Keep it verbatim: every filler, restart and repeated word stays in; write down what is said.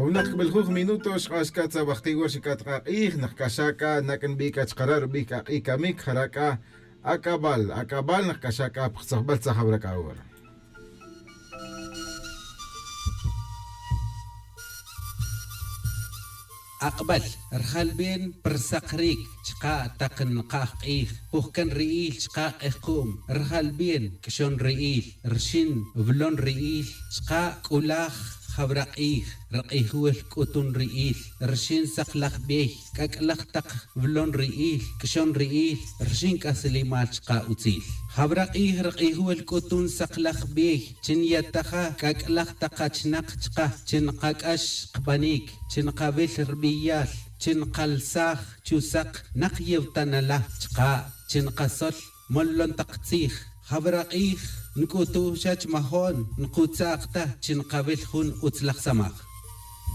Winak cbeljuj minuto xk'ax c'a tzabajti' wor xic'a' tk'a' k'ij nak c'axa' c'a nac' nbi' c'a chkara' rubi' c'a k'ij camic jara' c'a ac'abal ac'abal nak c'axa' c'a pa ktzojbal tzajab ra c'a wor. Ak'bal rjal bien pa rsakric chka' tak nkaj k'ij. Pujcan ri'il chka' k'ejku'm rjal bien c'xon ri'il rxin wilon ri'il chka' c'ulaj. Jawra k'ij rk'ijwil c'utun ri'il rxin saklaj biey c'ac'laj tak wilon ri'il c'xon ri'il rxin c'aslimal chka' utzil. Jawra k'ij rk'ijwil c'utun saklaj biey chi nyataja c'ac'laj tak achnak chka chi nkac'ax kbanic chi nkawil rbiyal chi nkalsaj chusak nak yewtanalaj chka' chi nkasol molon tak tzij. Jawra k'ij nc'utu' xa chmajo'n nkutzak ta chi nkawil jun utzlaj samaj.